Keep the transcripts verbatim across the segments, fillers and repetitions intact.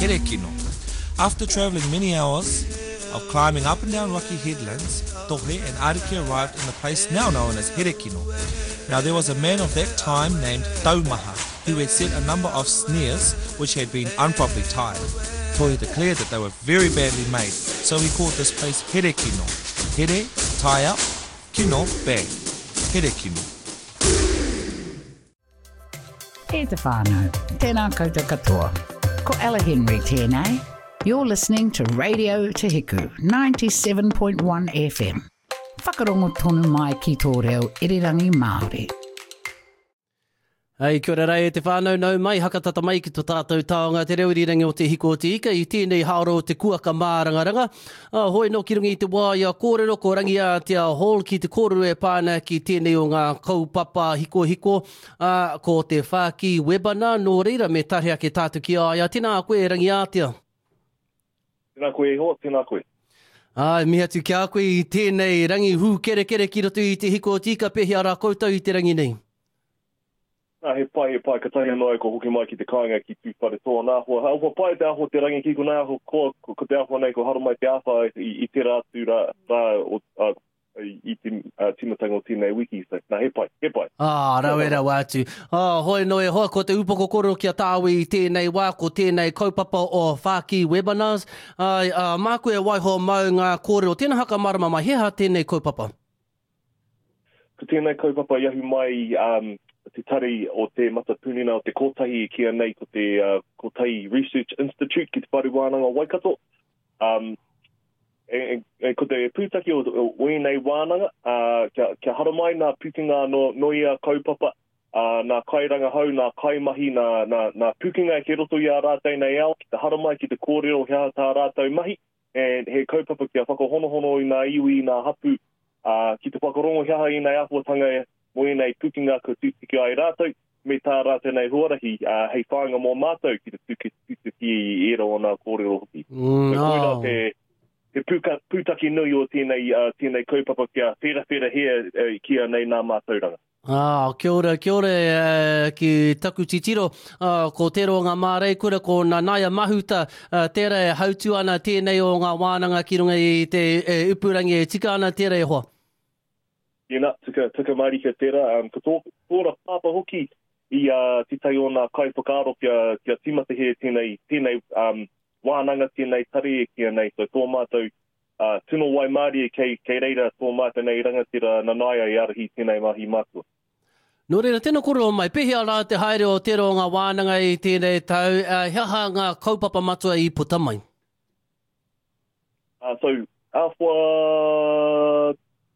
Herekino. After travelling many hours of climbing up and down rocky headlands, Tohe and Ariki arrived in the place now known as Herekino. Now there was a man of that time named Taumaha, who had set a number of snares which had been improperly tied. Tohe declared that they were very badly made, so he called this place Herekino. Here, tie up, kino, bag. Herekino. E te whānau, tēnā koutou katoa. Ko Ella Henry tēnei. You're listening to Radio Te Hiku, ninety-seven point one F M. Whakarongo tonu mai ki tō reo irirangi Māori. Hei, kia ora rei te whānau, nau mai, hakatata mai ki tō tātou taonga te reo irirangi o Te Hiku o Te Ika i tēnei haoro o te kuaka mārangaranga. Ah, hoi no ki runga i te wā ia kōrero, ko Rangiātea Hall ki te kōrero e pāna ki tēnei o ngā kaupapa hikohiko, ah, ko te Whāki Webinar, nō reira me tahe ake tātou ki a ia. Tēnā koe, Rangiātea. Tēnā koe e hoa, tēnā koe. Ai, mihi atu ki a koe i tēnei rangi hūkerekere ki roto i Te Hiku o Te Ika, pēhea rā koutou i te rangi nei? Nā, he pai, he pai, ka tahi anō ai ko hoki mai ki te kāinga ki Tūwharetoa nā hoa. Ha, ua pai te aho te rangi ki konei aho, ko, ko, ko te aho nei, ko haramai te āwha i, i tērā atu rā, rā o, a, i, i te, a, tīmatanga o tēnei wiki. So, nā, he pai, he pai. Ah, rawe rawa atu. Ah, hoi no e hoa, ko te upoko kōrero ki a tāui i tēnei wā, ko tēnei kaupapa o Whāki Webinars. Ai, ah, māku e waiho mau ngā kōrero. Tēnā haka marama mai, he aha tēnei kaupapa? Ko tēnei kaupapa i ahu mai, um, te tari o te Matapūnina o te Kotahi i kia nei ko te, uh, Kotahi Research Institute ki te Whare Wānanga o Waikato. Um, e, e, e, ko te pūtake o, o, o ēnei wānanga, uh, kia, kia haramai nā pūkenga no, no ia kaupapa, uh, nā kairangahau, nā kaimahi, nā, nā, nā pūkenga e ke roto i a rātou nei ao, ki te haramai, ki te kōrero he aha tā rātou mahi, e, he kaupapa kia whakahonohono i ngā iwi, i ngā hapu, uh, ki te whakarongo he aha i nei āhuatanga e, mō ēnei pūkenga ko tūtuki ai rātou, me tā rātou nei huarahi, uh, hei whāinga mō mātou ki te tuki, tutuki i ērā o ngā kōrero hoki. Mm, So, koirā oh. te, te pūka, pūtake nui o tēnei, uh, tēnei kaupapa kia wherawhera hea, uh, kia nei nā mātauranga. Ah, kia ora, kia ora, eh, ki taku titiro, ah, ko tērā o ngā māreikura, ko Nanaia Mahuta, ah, tērā e hautu ana tēnei o ngā wānanga ki runga i te, eh, upurangi e tika ana tērā e hoa. Tēnā, tika, tika marika tērā. Um, ko tō, tōra pāpā hoki i, uh, te tai o ngā kaiwhakaaro kia, kia tīmata he tēnei, tēnei, um, wānanga, tēnei tari e kia nei. So tō mātou, uh, tino waimārie kei, kei reira tō mātou nei rangatira Nanaia i ārahi tēnei mahi mātua. Nō reira, tēnā kōrero mai, pēhea rā te haere o tērā o ngā wānanga i tēnei tau, uh, he aha ngā kaupapa matua i puta mai? Uh, so, āwhua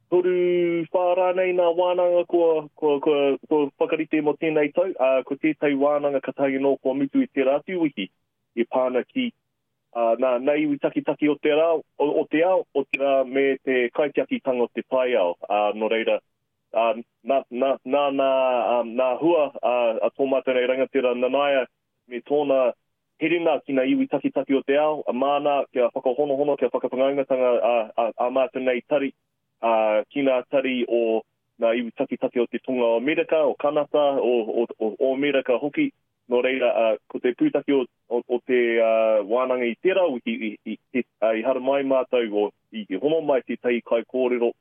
toru whā nei nā wānanga kua, kua, kua, kua whakarite mō tēnei tau, uh, ko tētai wānanga ka tahi nō kua mutu i tērā atu wiki i pāna ki, uh, nā, nā iwi takitaki o te rā, o, o te ao, o te rā me te kaitiakitanga o te taiao. Uh, nō reira, uh, nā, nā, nā, nā, um, nā hua, uh, a tō mātou nei rangatira Nanaia me tōna herenga ki ngā iwi takitaki o te ao, a māna kia whakahonohono, kia whakawhanaungatanga a, a, a mātou nei tari, a, ki ngā tari o ngā iwi takitaki o te Tonga o Amerika, o Kanata, o, o, o, o Amerika hoki. Nō reira, a, ko te pūtake o, o, o te, a, wānanga i tērā wiki, i, i, i, a, i haramai mātou, o, i, i hono mai tētahi kaikōrero,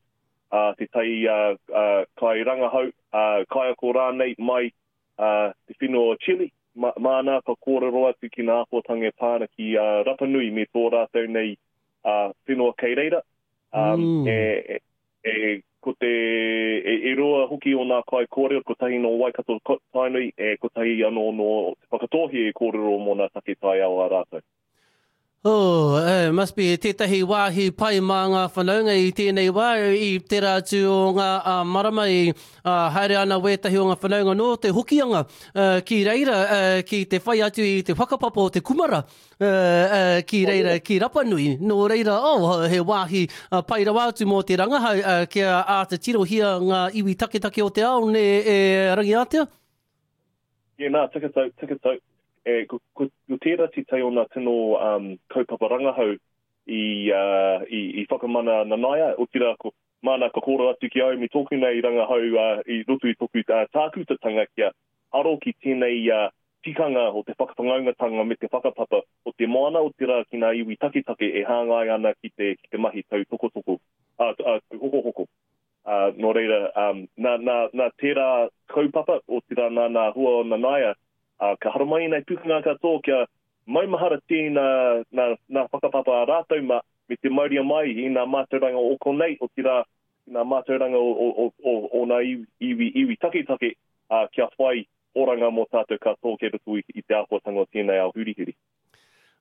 a, tētahi, a, a, kairangahau, a, kaiako rānei mai, a, te whenua o Chile, ma, māna ka kōrero atu ki ngā āhuatanga e pāna ki, a, Rapa Nui me tō rātou nei, a, whenua kei reira. Um, Mm. e, e, e, ko te, e, e roa hoki o ngā kaikōrero, kotahi nō Waikato ko-, Tainui, e kotahi anō nō Te Whakatōhea e kōrero mō ngā take taiao a rātou. Oh, eh, must be tētahi wāhi pai mā ngā whanaunga i tēnei wā, i tērā atu o ngā, ah, marama i, ah, haere ana wētahi o ngā whanaunga nō te hokianga, eh, ki reira, eh, ki te whai atu i te whakapapa o te kumara, eh, eh, ki reira, ki Rapanui. Nō reira, oh, he wāhi, ah, pai rawa atu mō te rangahau, eh, kia āta tirohia ngā iwi taketake o te ao, ne, e Rangiātea? Yeah, nā, tika tau, tika tau. E, ko, ko, ko tērā te tai o ngā tino, um, kaupapa rangahau i, uh, i, i whakamana Nanaia, otirā ko māna ka kōrero atu ki au me tōku nei rangahau, uh, i roto i tōku, uh, tākutatanga kia aro ki tēnei, uh, tikanga o te whakawhanaungatanga me te whakapapa o te moana o te rā ki ngā iwi taketake e hāngai ana ki te, ki te mahi tautokotoko, uh, uh, hokohoko. Uh, nō reira, um, nā, nā, nā tērā kaupapa o te rā nā nā hua o Nanaia, uh, ka haramai nei pukanga katoa kia maumahara tēnā nā, nā whakapapa a rātou ma, me te mauria mai i ngā mātauranga o konei, o te rā ngā mātauranga o, o, o, o, o ngā iwi, iwi, iwi taketake, uh, kia whai oranga mō tātou katoa kei roto i, i te āhuatanga o tēnei ao hurihuri.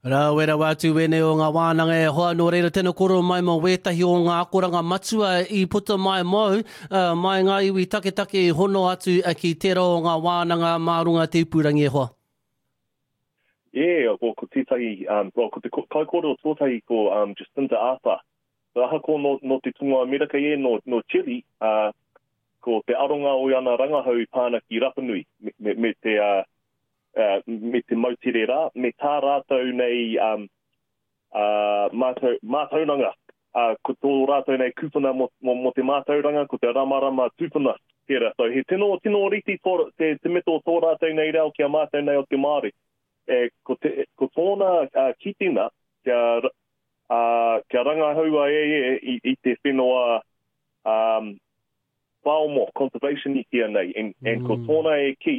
Rawe rawa atu wēnei o ngā wānanga e hoa, nō reira tēnā koro mai mō wētahi o ngā akoranga matua i puta mai mōu, uh, mai ngā iwi taketake i hono atu ki tērā o ngā wānanga mā runga te ipurangi e hoa. Yeah, well, ko tētahi, um, well, ko te kaikōrero tuatahi ko um, Jacinda Arthur. So, ahakoa no, no te tunga Amerika e, no, no Chile, uh, ko te aronga o ana rangahau i pāna ki Rapa Nui, me, me, me te, uh, uh, me te moutere rā, me tā rātou nei um, uh, mātau, mātauranga. Uh, ko tō rātou nei kūpuna mo, mo, mo te mātauranga, ko te ramarama tūpuna tērā. So, he tino, tino riti tō, te, te meto o tō rātou nei reo ki a mātou nei o te Māori. E, ko, te, ko tōna uh, kitina kia, uh, kia rangahaua e e i, i te whenua um, whaomo, conservation i kia nei. And, mm. and ko tōna e ki,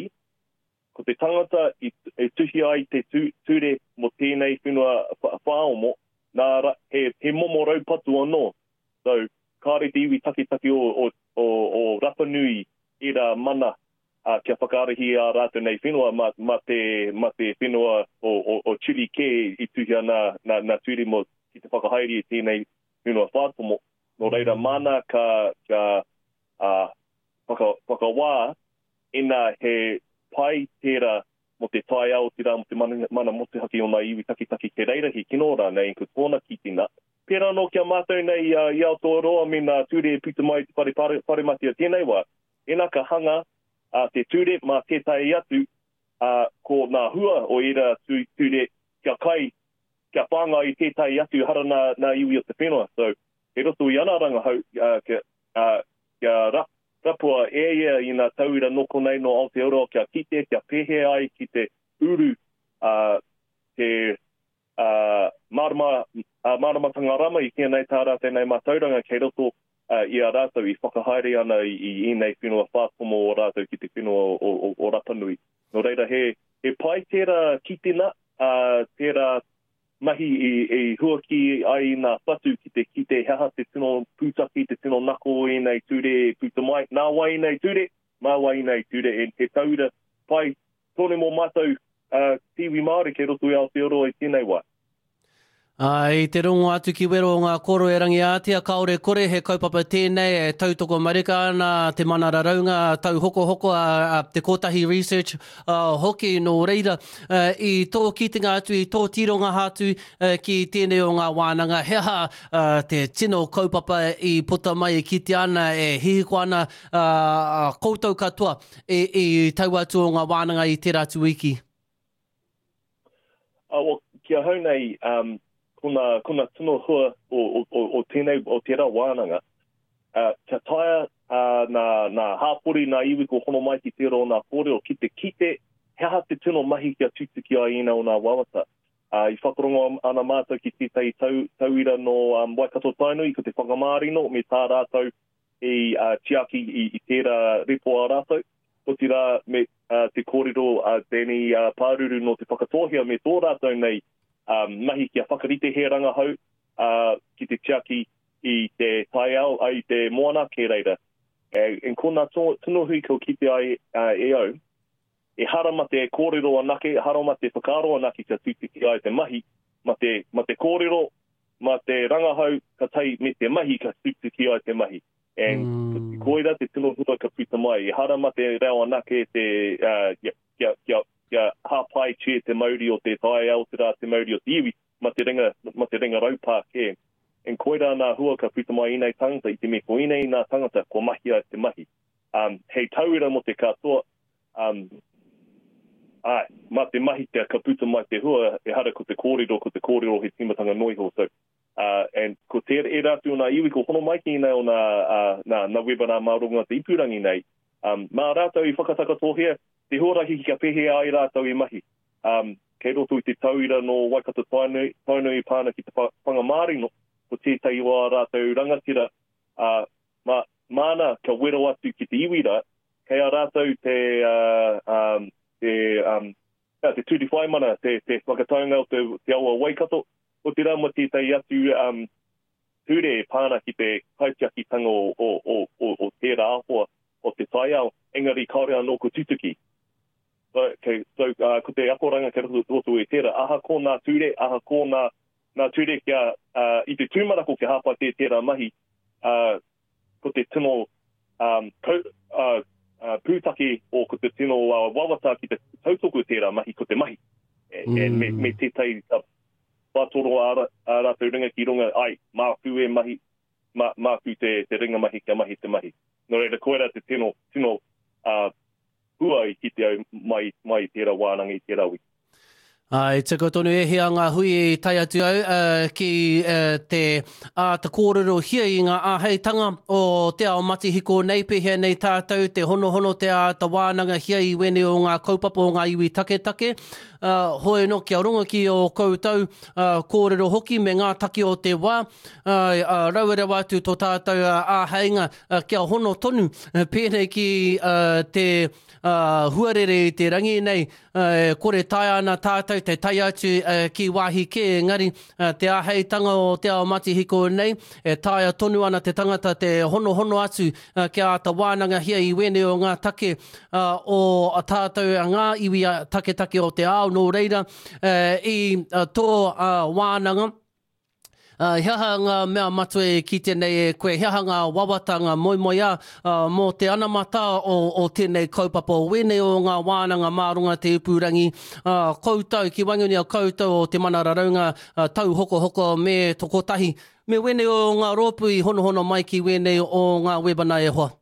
ko te tangata i, e tuhi ai te tu, ture mo tēnei whenua whaomo, nā, he, he momo raupatu anō. So, kāre te iwi taketake o, o, o, o Rapa Nui i rā mana uh, kia whakaarahi a rātou nei whenua ma, ma, te, ma te whenua o, o, o Chile kē i tuhia nā, nā, nā ture mo ki te whakahaere i tēnei whenua whātomo. Nō reira mana ka, ka uh, whaka, whakawā ina he pai tērā mo te taiao, te rā, mo te mana, mana motuhake o ngā iwi taketake ke reira he kino rānei, ko tōna kitina. Pērā nō kia mātou nei uh, i Aotearoa me ngā ture e puta mai te whare, pare, whare mati o tēnei wā. Ina ka hanga uh, te ture mā tētahi atu uh, ko ngā hua o ērā ture kia kai, kia whāngai i tētahi atu hara nā, nā iwi o te whenua. So, he roto i ana rangahau uh, kia, uh, kia rap, rapua e ia i ngā tauira noko nei no Aotearoa kia kite, kia pēhea ai ki te uru uh, te uh, mārama, uh, māramatanga rama i tēnei tā rātou nei mātauranga kei roto uh, i a rātou i whakahaere ana i, i ēnei whenua whātomo o rātou ki te whenua o, o, o Rapa Nui. Nō reira, he, he pai tērā kitina, uh, tērā mahi i, i huaki ai ngā whatu ki te kite he aha te tino pūtaki, te tino nako o ēnei ture e puta mai. Nā wai ēnei ture, mā wai ēnei ture, e he tauira pai tonu mō mātou uh, iwi Māori kei roto i Aotearoa i tēnei wā. Ai, te rongo atu ki wero o ngā koro e Rangiātea, kaore kore he kaupapa tēnei e tautoko marika ana te mana raraunga tauhokohoko a, a te Kotahi Research uh, hoki nō reira. Uh, i tō kitenga atu, i tō tironga atu uh, ki tēnei o ngā wānanga, he aha uh, te tino kaupapa i puta mai e kite ana, e hihiko ana uh, koutou katoa e, i tau atu o ngā wānanga i tērā atu wiki? Uh, well, ki ahau nei, um, ko ngā, ko ngā tino hua o, o, o, o tēnei, o tērā wānanga, uh, kia taea uh, nā, nā hāpori, nā iwi ko hono mai ki tērā o nā kōrero, ki te kite, he aha te tino mahi kia tutuki ai ina o nā wawata. Uh, i whakarongo ana mātou ki tētahi tau, tauira no um, Waikato Tainui, ko te whakamārino me tā rātou i uh, tiaki i, i tērā repo a rātou. Otirā me uh, te kōrero a uh, Danny uh, Pāruru no te Whakatōhea me tō rātou nei um, mahi kia whakarite he rangahau uh, ki te tiaki i te taiao, ai te moana ke reira. E, en ko ngā tino hui ko kite ai uh, e au, e hara ma te kōrero anake, hara ma te whakaaro anake kia tutuki ai te mahi, ma te, ma te kōrero, ma te rangahau ka tai me te mahi ka tutuki ai te mahi. And mm. koira te tino hua ka puta mai. E hara ma te reo anake te, uh, kia, kia, kia, kia hāpai tia te mauri o te taiao, te rā te mauri o te iwi, ma te ringa, ma te ringa raupā kē. En koira nā hua ka puta mai inei tangata, i te me ko inei nā tangata, ko mahi ai te mahi. Um, hei tauira mo te katoa, um, ai, ma te mahi te ka puta mai te hua, e hara ko te kōrero, ko te kōrero he tīmatanga noiho. So, uh, and ko te era atu o nā iwi, ko hono mai ki nei o nā, uh, nā, nā webinar mā runga te ipurangi nei, um, mā rātou i whakatakatohea, te huarahi kia pēhea ai rātou i mahi. Um, kei roto i te tauira no Waikato Tainui, Tainui pāna ki te Whangamārino, ko tētahi o ā rātou rangatira, uh, ma, māna kia wero atu ki te iwi rā, kei a rātou te, uh, um, te, um, te tūri whaimana, te, te whakataunga o te, te awa Waikato, o te rā mo tētahi atu um, ture e pāna ki te kaitiakitanga o, o, o, o, o tērā āhua o te taiao, engari kāore anō ko tutuki. So, okay, so uh, ko te akoranga kei roto, roto i tērā, aha ko nā ture, aha ko nā, nā ture kia, uh, i te tūmanako kia hāpai te tērā mahi, uh, ko te tino um, ko, uh, uh, pūtake o ko te tino uh, wawata ki te tautoko tērā mahi, ko te mahi. E, mm. e, me, me tētahi uh, whātoro a, a rātou ringa ki runga, ai, māku e mahi, mā, māku te, te ringa mahi kia mahi te mahi. Nō reira, koera te tino, tino uh, hua i kite au mai, mai i tērā wānanga i tērā wiki. Ai, tika tonu e hia ngā hui i tae atu au uh, ki uh, te āta kōrero hia i ngā āheitanga o te ao matihiko nei, pēhea nei tātou, te honohono te āta wānanga hia i wene o ngā kaupapa o ngā iwi taketake. Uh, hoi no, kia rongo ki o koutou uh, kōrero hoki me ngā taki o te wā, uh, uh, rauerewa atu tō tātou uh, āheinga uh, kia hono tonu, uh, pēnei ki uh, te uh, huarere i te rangi nei, uh, kore taea ana tātou te tae atu uh, ki wāhi kē, engari uh, te āheitanga o te ao matihiko nei, e taea tonu ana te tangata te honohono atu uh, kia āta wānanga hia i wene o ngā take uh, o tātou ngā iwi taketake o te ao, nō reira uh, i uh, tō uh, wānanga. Uh, he aha ngā mea matua e kite nei e koe, he aha ngā wawata, ngā moemoeā uh, mō te anamata o, o tēnei kaupapa o wēnei o ngā wānanga mārunga te ipurangi, uh, koutou, ki waenganui a koutou o te mana raraunga uh, tauhokohoko me tokotahi, me wēnei o ngā rōpū i honohono mai ki wēnei o ngā webana e hoa.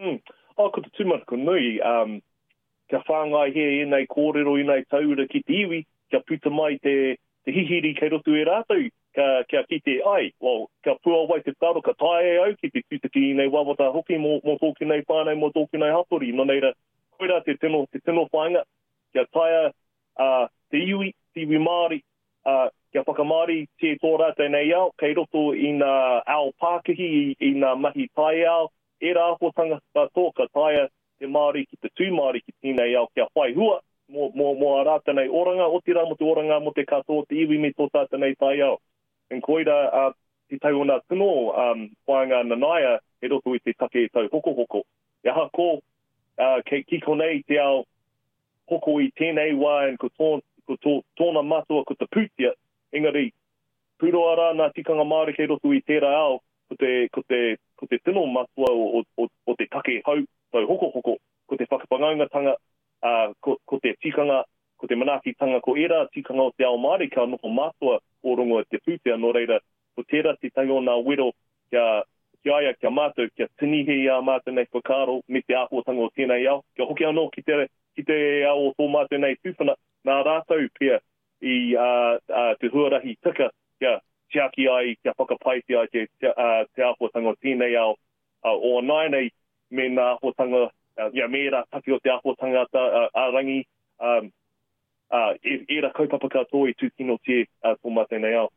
Mm. Oh, ko te tūmanako nui, um, kia whāngai he ēnei kōrero, ēnei taura ki te iwi, kia puta mai te te hihiri kei roto e rātou, kia, kia kite ai, well, kia puawai te whakaaro, ka taea e au ki te tūtaki i nei wawata hoki mō, mō tōku nei whānau, mō tōku nei hapori. Nō reira, koirā te tino, te tino whāinga, kia taea uh, te iwi, te iwi Māori, uh, kia whakamāori te tō rātou nei ao, kei roto i ngā ao pākihi, i, i ngā mahi taiao, ērā āhuatanga katoa, ka taea te Māori ki te tū Māori ki tēnei ao kia whai hua, mō, mō, mō a rātou nei oranga, otirā mō te oranga mō te katoa te iwi me tō tātou nei taiao. En koira uh, te tau o nā tino um, whāinga nanaia he roto i te take tau hokohoko. E aha ko, uh, kei ki konei te ao hoko i tēnei wā en ko, tō, ko tō, tōna matua ko te pūtea, engari pūroa rā nā tikanga Māori kei roto i tērā ao, ko te, ko te, ko te tino matua o, o, o, o te take hau tau hokohoko, ko te whakawhanaungatanga, Uh, ko, ko te tikanga, ko te manaakitanga, ko ērā tikanga o te ao Māori ka noho mātua o rongo te pūtea, nō reira, ko tērā te tangi o nā wero kia, kia aia, kia mātou, kia tinihe i a mātou nei whakaaro me te āhuatanga o tēnei ao, kia hoki anō ki te, ki te ao o tō mātou nei tūpuna, nā rātou pia i uh, uh, te huarahi tika kia tiaki ai, kia whakapaitia ai te, te, uh, te āhuatanga o tēnei ao, uh, o nāianei me nā āhuatanga Uh, ia me ērā taki o te āhuatanga uh, a rangi, um, uh, ērā kaupapa katoa i tūkinotia uh, tō mātou nei ao.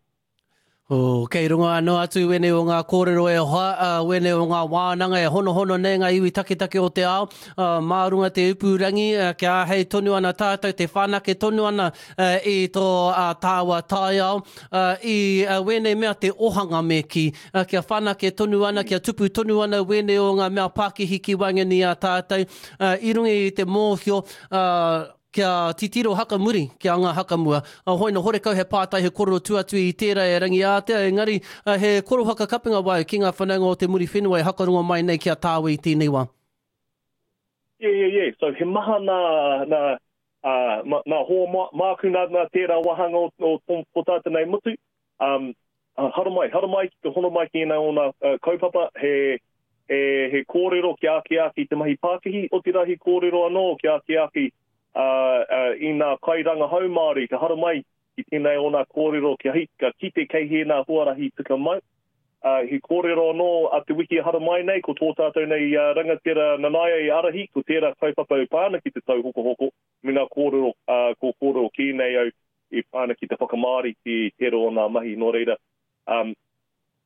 Oh, kei runga anō atu wene o ngā kōrero e hoa, uh, wene o ngā wānanga e honohono nei ngā iwi taketake o te ao, uh, mā runga te ipurangi, uh, kia āhei tonu ana tātou, te whanake tonu ana uh, i tō uh, tāua taiao, uh, i uh, wene mea te ohanga me ki, uh, kia whanake tonu ana, kia tupu tonu ana wene o ngā mea pākihi ki waenganui a tātou, uh, i runga i te mōhio, uh, kia titiro hakamuri, kia ngā hakamua. Uh, hoi no horekau he pātai he korero tuatu i tērā e rangi ātea, engari uh, he koro whakakapinga wai ki ngā whanaunga o te muri whenua e hakarongo mai nei ki a tāwe i tēnei wā. Yeah, yeah, yeah. So he maha nā, nā, uh, ma, nā hoa ma, māku nā, nā tērā wahanga o, o, o, o tātou nei mutu. Um, uh, haramai, haramai ki te hono mai ki ēnei o nā uh, kaupapa, he, he, he kōrero ki āki āki te mahi pākihi, otirā he kōrero anō ki āki āki Uh, uh, i nā kairangahau Māori, ka haramai ki tēnei o nā kōrero kia hi, ka kite kei he nā huarahi tika mai. Uh, he kōrero anō a te wiki hara mai nei, ko tō tātou nei uh, rangatira Nanaia i arahi, ko tērā kaupapa e pā ana ki te tauhokohoko, me ngā kōrero, uh, ko kōrero kī nei au e pā ana ki te whakamāori ki tērā o ngā mahi. Nō reira, um,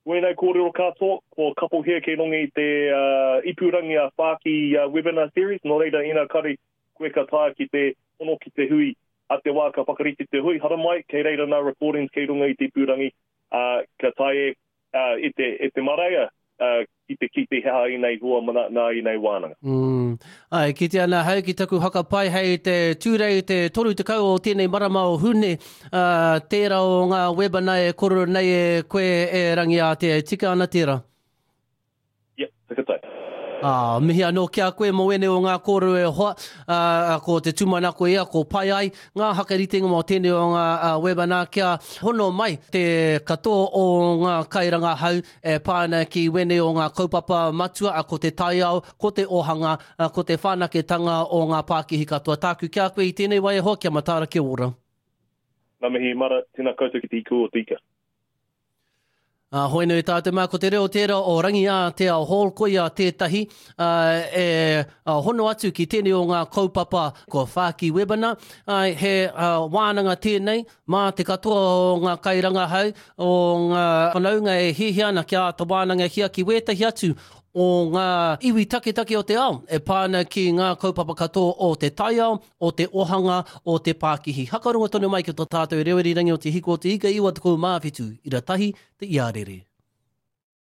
wēnei kōrero katoa, ko kapohea kei runga i te uh, ipurangi a Whāki uh, webinar series, nō reira ina kare koe ka taea ki te hono ki te hui a te wā ka whakarite te hui, haramai, kei reira ngā recordings kei runga i te ipurangi, uh, ka taea uh, e te, e te maraea uh, ki te ki te he aha ēnei hua mana, nā ēnei wānanga. Mm. Ai, ki te ana hau ki taku whakapai hei te Tūrei te toru tekau o tēnei marama o Hune, uh, tērā o ngā webinar e kōrero nei e koe e Rangiātea, e tika ana tērā? Yep, whakatau. Ah, mihi anō ki a koe mō ēnei o ngā kōrero e hoa, ah, ko te tūmanako ia, ko pai ai ngā hakaritenga mō tēnei o ngā ah, webinar kia hono mai te katoa o ngā kairangahau e pā ana ki wēnei o ngā kaupapa matua, ah, ko te taiao, ko te ohanga, ah, ko te whanaketanga o ngā pākihi katoa. Tāku ki a koe i tēnei wā e hoa, kia mataara, kia ora. Ngā mihi mara, tēnā koutou ki te iku o te ika. Uh, hoi nui tātou mā, ko te reo tērā o Rangiātea Hall, koia tētahi uh, e uh, hono atu ki tēnei o ngā kaupapa ko Whāki Webinar. Uh, he uh, wānanga tēnei mā te katoa o ngā kairangahau, o ngā whanaunga e hiahia ana kia āta wānangahia ki wētahi atu o ngā iwi taketake o te ao e pā ana ki ngā kaupapa katoa o te taiao, o te ohanga, o te pākihi. Hakarongo tonu mai ki tō tātou reo irirangi o Te Hiko o Te Ika iwa tekau mā whitu, ira tahi te iarere.